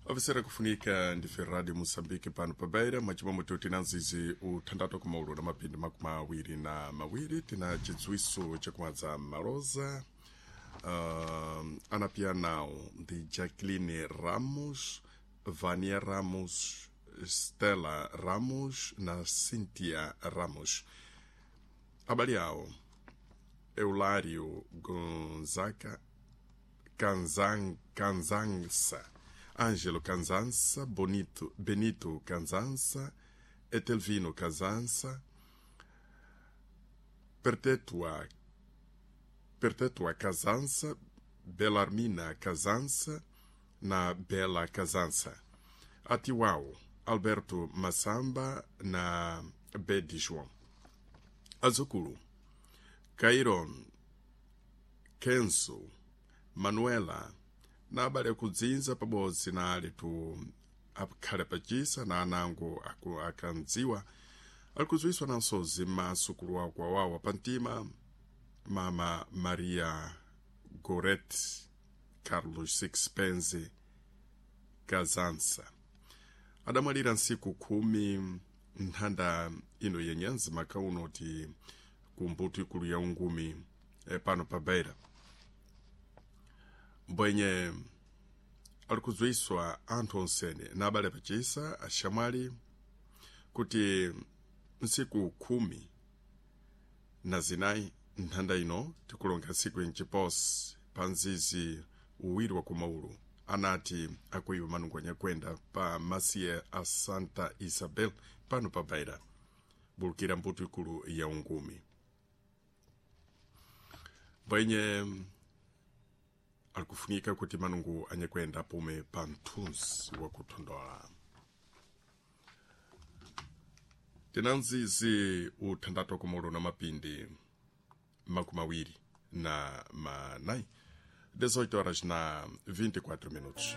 Ofisera kufunika ndife Radio Moçambique pano pa Beira, mwachimwemwe tina nzizi uthandathu kumaulu na mapindi 22 tina chidziwiso chakumadza maloza. Anapianao ndi Jacqueline Ramos, Vania Ramos, Stella Ramos na Cynthia Ramos. Abale awo Eulário Gonzaga Canzança, Ângelo Canzança, Benito Canzança, Etelvino Canzança, Perpetua, Perpetua Casança, Belarmina Casança na Bela Casança. Atiwau, Alberto Massamba na Bedi João. Azukulu, Cairon, Kenzo, Manuela na abale akudzinza pabodzi na alitu akhale pachisa na anango akandziwa alikudziwiswa na nsozi m'masukulu wawo kwawawa pamtima mama Maria Goret Carlos Sixpence Kazansa adamwalira nsiku 10 nthanda ino yenyanzi makauno ti kumbuto ikulu ya ungumi pano pa Beira. Mbwenye alikudziwiswa anthu onsene na abale pachisa axamwali kuti ntsiku 14 nthanda ino tikulonga ntsiku yenchiposi pa nzizi uwiri wa kumaulu anati akuiwa manungo anyakwenda pa masiye a Santa Isabel pano pa Beira, bulukira mbuto ikulu ya ungumi. Mbwenye alikufunika kuti manungu anyakwenda pume pa mthunzi wakuthondola. Tina nzizi uthandathu kumolo na mapindi 24, 18 horas na 24 minutos.